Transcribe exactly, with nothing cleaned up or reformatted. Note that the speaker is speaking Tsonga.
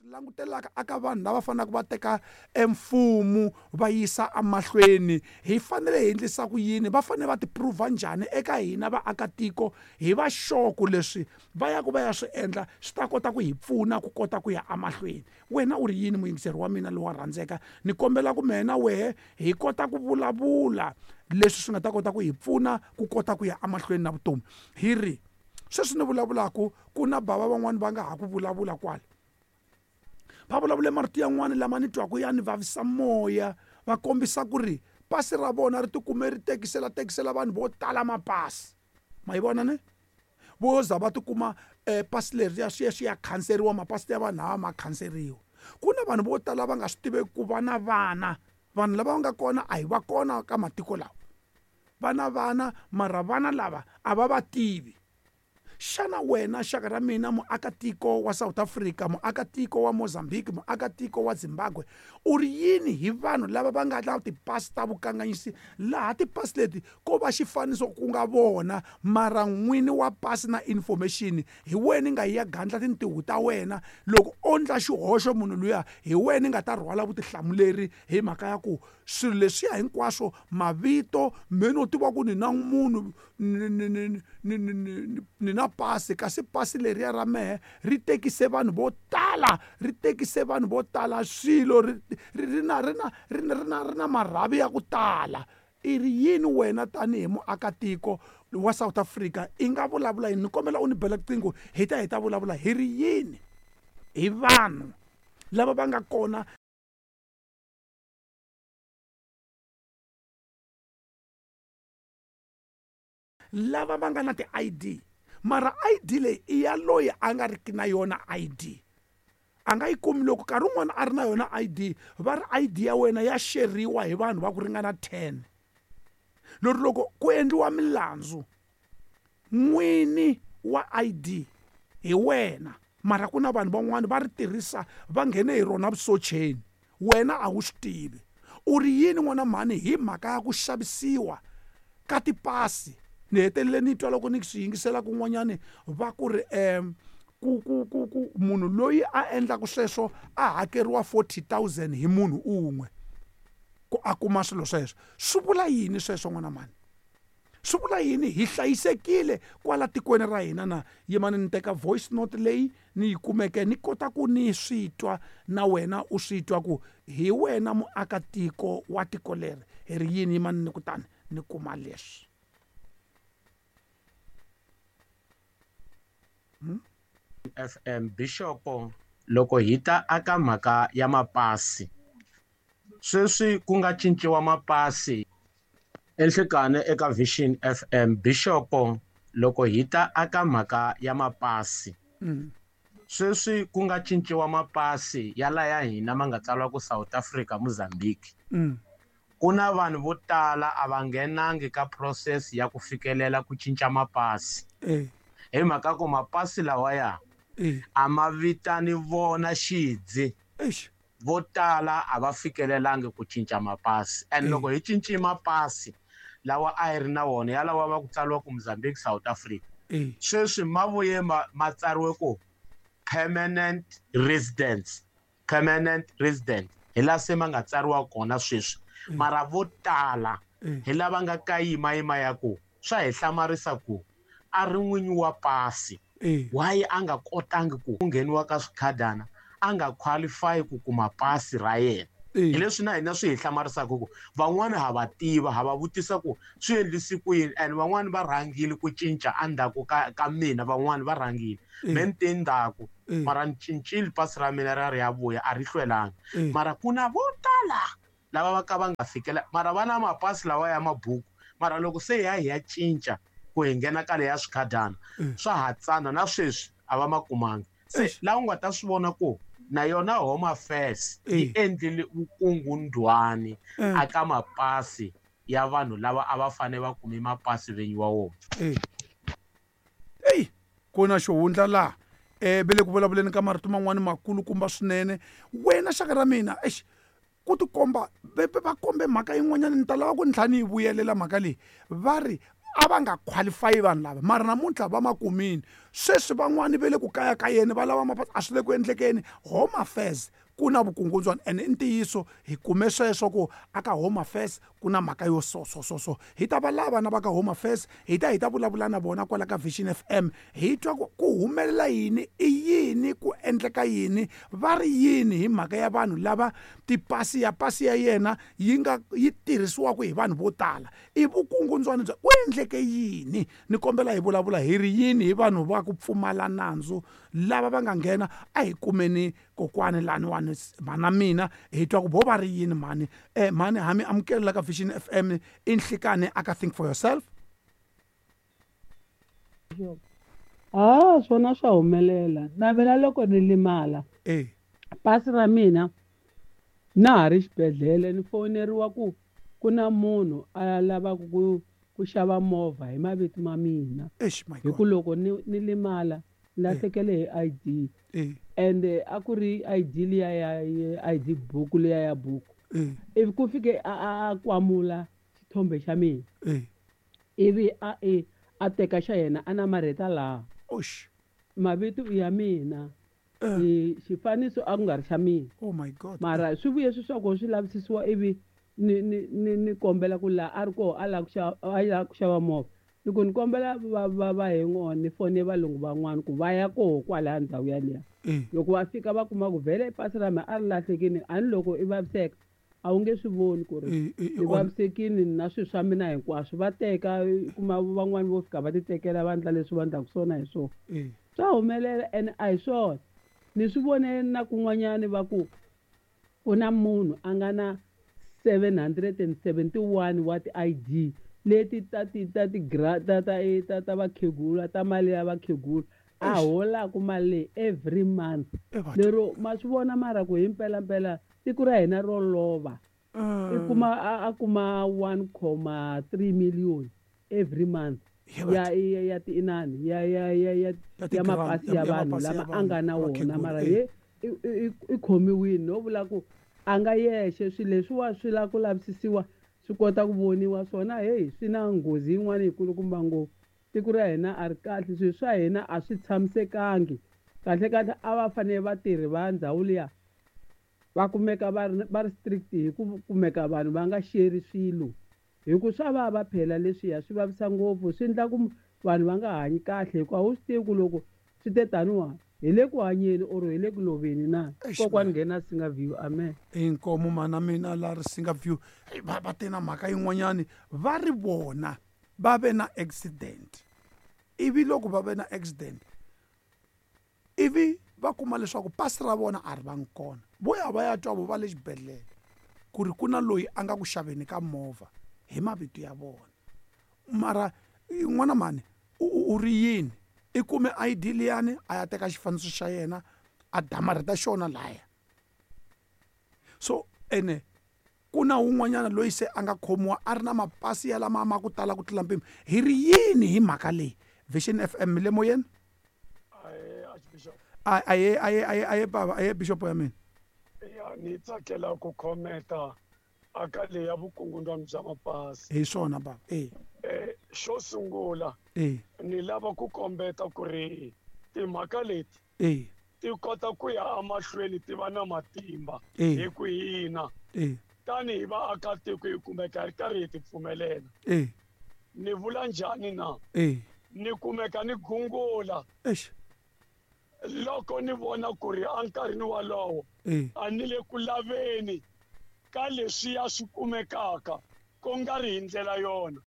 Langutelaka aka vanhu lava faneleke va teka emfumo va yisa emahlweni, hi fanele hi endlisa ku yini, va fanele va ti-prove njhani eka hina vaakatiko, hi va sure ku leswi va ya ku va ya swi endla swi ta kota ku hi pfuna ku kota ku ya emahlweni. Wena u ri yini muyingiseri wa mina lowa rhandzeka? Ni kombela ku mehe na wehe hi kota ku vulavula leswi swi nga ta kota ku hi pfuna ku kota ku ya emahlweni na vutomi. Hi ri sweswi ni vulavulaka ku na bava van'wani va nga ha ku vulavula kwala, va vulavule marito yan'wana lama ni twaku ya ni vavisa moya, va kombisa ku ri pasi ra vona ri tikume ri tekisela tekisela vanhu vo tala mapasi. Ma yi vona ne? Vo za va tikuma eh, pasi leriya swi ya swi ya khanseriwa, mapasi ya vanhu lava ma khanseriwa. Ku na vanhu vo tala va nga swi tiveki ku va na vana, vanhu lava nga kona a hi va kona ka matiko lawa, va na vana mara vana lava a va va tivi. Xana wena xaka ra mina muakatiko wa South Africa, muakatiko wa Mozambique, muakatiko wa Zimbabwe, u ri yini hi vanhu lava va nga na tipasi ta vukanganyisi, laha tipasi leti ko va xifaniso ku nga vona mara n'wini wa pasi na information hi wena nga ya gandla tintiho ta wena? Loko o ndla xihoxo munhu luya, hi wena nga ta rhwala vutihlamuleri hi mhaka ya ku swilo leswiya hinkwaswo, mavito me no tiva ku ni na munhu ni ni ni ni ni ni ni na pasi, kasi pasi leriya ra mehe ri tekise vanhu vo tala, ri tekise vanhu vo tala swilo, ri ri na ri na ri na ri na ri na marhavi ya ku tala. I ri yini wena tanihi muakatiko wa South Africa i nga vulavula yini? Ni kombela u ni bela riqingho hi ta hi ta vulavula hi ri yini hi vanhu lava va nga kona lava va nga na ti-I D, mara I D leyi i ya loyi a nga riki na yona I D, a nga yi kumi. Loko nkarhi wun'wani a ri na yona I D, va ri I D ya wena ya xeriwa hi vanhu va ku ringana ten. Lori loko ku endliwa milandzu, n'wini wa I D hi wena, mara ku na vanhu van'wani va ri tirhisa va nghene hi rona vusocheni, wena a wu swi tivi. U ri yini n'wana mhani hi mhaka ya ku xavisiwa ka tipasi? Ni hetelele ni twa loko ni swi yingisela kun'wanyani va ku ri um ku ku ku ku munhu loyi a endlaka sweswo a hakeriwa forty thousand hi munhu un'we ku a kuma swilo sweswo. Swi vula yini sweswo n'wana mhani? Swi vula yini? Hi hlayisekile kwala tikweni ra hina na? Yimani ni teka voice note leyi ni yi kumeke ni kota ku ni swi twa na wena u swi twa ku hi wena muakatiko wa tiko leri. Hi ri yini? Yimani ni kutani ni kuma leswi. Hmm? F M Bishopo, loko hi ta aka mhaka ya mapasi, sweswi ku nga cinciwa mapasi enhlekani eka Vision F M. Bishopo, loko hi ta aka mhaka ya mapasi, mm. sweswi ku nga cinciwa mapasi ya la ya hina ma nga tsariwa ku South Africa, Mozambique. Mm. Ku na vanhu vo tala a va nghenangi ka process ya ku fikelela ku cinca mapasi. Eh. Hi mhaka ku mapasi lawaya Eh. a ma vitani vona xidzi. Eish. Vo tala a va fikelelangi ku cinca mapasi. And Eh. loko hi cinci mapasi lawa a hi ri na wona ya lawa va ku tsariwa ku Mozambique, South Africa. Eh. Sweswi ma vuye ma, ma tsariwe ku permanent residence, permanent resident. Hi laha se ma nga tsariwa kona sweswi. Mm. Mara vo tala Mm. hi lava nga ka yimayima ya ku swa hi hlamarisa ku a ri n'winyi wa pasi. Eh. Why a nga kotangi ku ngheniwa ka swikhadana, a nga qualify ku kuma pasi ra yena? Eh. Hi leswi na hina swi hi hlamarisaka ku van'wani ha va tiva, ha va vutisa ku swi endlisi ku yini, and van'wani va rhangile ku cinca endzhaku ka, ka mina, van'wani va rhangile. Eh. Me ni te ndzhaku, Eh. mara ni cincile pasi ra mina ra ri ya vuya, a ri hlwelanga. Eh. Mara ku na vo tala lava va ka va nga fikela, mara va na mapasi lawa ya mabuku, mara loko se hi ya hi ya cinca ku hi nghena ka leya swikhadana, Mm. swa ha tsana na sweswi a va ma kumangi. Se Eish. laha u nga ta swi vona ku na yona Home Affairs yi Eh. endlile vukungundwani Eh. aka mapasi ya vanhu lava a va fanele va kume mapasi vinyi wa wona. Eh. Ey, ku na xihundla laha. Eh, ve le ku vulavuleni ka marito man'wani makulukumba swinene. Wena xaka ra mina, eish, ku tikomba, va, va, va kombe mhaka yin'wanyana, ni ta lava ku ni tlhela ni yi vuyelela mhaka leyi. Va ri A va nga qualify vanhu lava mara namuntlha va ma kumini. Sweswi van'wani va le ku kayakayeni va lava mapasi, a swi le ku endlekeni. Home Affairs ku na vukungundzwana ene i ntiyiso hi kume sweswo ku aka Home Affairs ku na mhaka yo so so so so. Hi ta va lava na va ka Home Affairs, hi ta hi ta vulavula na vona kwala ka Vision F M, hi twa ku ku humelela yini, i yini ku endleka yini, va ri yini hi mhaka ya vanhu lava tipasi ya pasi ya yena yi nga yi tirhisiwaka hi vanhu vo tala. I vukungundzwana bya ku endleke yini? Ni kombela hi vulavula hi ri yini hi vanhu va ku pfumala nandzu lava va nga nghena. A hi kumeni kokwani laniwani mhana mina hi twa ku vo va ri yini mhani. Eh mhani ha mi amukela ka Vision F M i nhlikani aka Think for Yourself. Ah, swona swa humelela. Na mina loko ni limala eh pasi ra mina na ha ri xibedhlele ni foneriwa ku ku na munhu a lavaka ku ku xava movha hi mavito ma mina. Eish, my Hi ku God. loko ni ni limala lahlekele hi I D. Eh. And a ku ri I D liya ya, ya I D buku liya ya buku. Eh. Ivi ku fike a, a, a kwamula xithombe xa mina. Eh. Ivi a, e, a teka xa yena a namarheta laha. Osh. Mavito ya mina. Eh. E, xifaniso a ku nga ri xa mina. Oh my God. Mara swi vuye swi swa ku swi lavisisiwa ivi ni, ni, ni, ni kombela ku laha a ri koho a lava ku xava, a lava ku xava movha. Ni ku ni kombela va, va, va hang on, ni fone valungu van'wana ku va ya koho kwalaya ndhawu yaliya. Eh. Loko va fika va kuma ku vhele pasi ra mina a ri lahlekile, a ni loko i vaviseka a wu nge swi voni ku ri Eh, eh, i on- vavisekile na swilo swa mina hinkwaswo. Va teka, i kuma van'wani vo fika va ti tekela va endla leswi va endlaka swona hi swona. Eh. Swa humelela ene a hi swona. Ni swi vone na kun'wanyani va ku ku na munhu a nga na seven hundred and seventy-one wa ti-I D leti ta ti, ta ti gra-, ta, ta, e, ta, ta vakhegula, ta mali ya vakhegula. A Eish. holaku mali leyi every month. E batho. Lero ma swi vona mara ku hi mpelampela tiko ra hina ro lova. I Eh. kuma, a, a kuma one comma three million every month. Ye batho. Ya, ya, ya ti inani, ya, ya, ya, ya, Ya ti ya grant, mapasi ya, ya ya vanhu mapasi ya lama a vanhu, nga na wona, vakhegula, mara eh. ye, i, i, i, i khomiwile no vula ku a nga yexe. Swilo leswiwa swi lava ku lavisisiwa swi kota ku voniwa swona. Hey, swi na nghozi yin'wana yikulukumba ngopfu. Tiko ra hina a ri kahle, swilo swa hina a swi tshamisekangi. Kahle kahle a va fanele vatirhi va ndhawu liya va kumeka va ri, va ri strict hi ku kumeka vanhu va nga sheri swilo, hi ku swa vava phela leswiya, swi vavisa ngopfu, swi endla ku vanhu va nga hanyi kahle, hikuva a wu swi tivi ku loko swi te taniwa hi le ku hanyeni or hi le ku loveni na. Eish, Kokwani man. nghena Singa View, amen. Inkomo mana mina la ri Singa View. Hey, va, va te na mhaka yin'wanyani, va ri vona va ve na accident. Ivi loko va ve na accident, ivi va kuma leswaku pasi ra vona a ri vangi kona. Vo ya va ya twa vo va le xibedhlele ku ri ku na loyi a nga ku xaveni ka movha hi mavito ya vona. Mara n'wana mhani u, u, u ri yini? I kume I D liyani a ya teka xifaniso xa yena a damarheta xona laya. So ene ku na wun'wanyana loyi se a nga khomiwa a ri na mapasi ya lama ma ku tala ku tlula mpimo. Hi ri yini hi mhaka leyi? Vision F M le moyeni? Ahe, Archbishop. A, ahe, ahe, ahe, ahe, baba, ahe, Bishop ya mina. Ya, ni tsakela ku commenta aka leyi ya vukungundzwana bya mapasi. Hi swona baba. Eh. Eh, xo sungula, Eh. ni lava ku kombeta ku ri timhaka leti Eh. ti kota ku ya emahlweni ti va na matimba Eh. hi ku hina. Eh. Tanihi vaakatiko hi kumeka hi ri karhi hi ti pfumelela. Eh. Ni vula njhani na? Eh. Ni kumeka ni gungula. Eish. Loko ni vona ku ri enkarhini walowo, Eh. a ni le ku laveni ka leswiya swi kumekaka ku nga ri hi ndlela yona.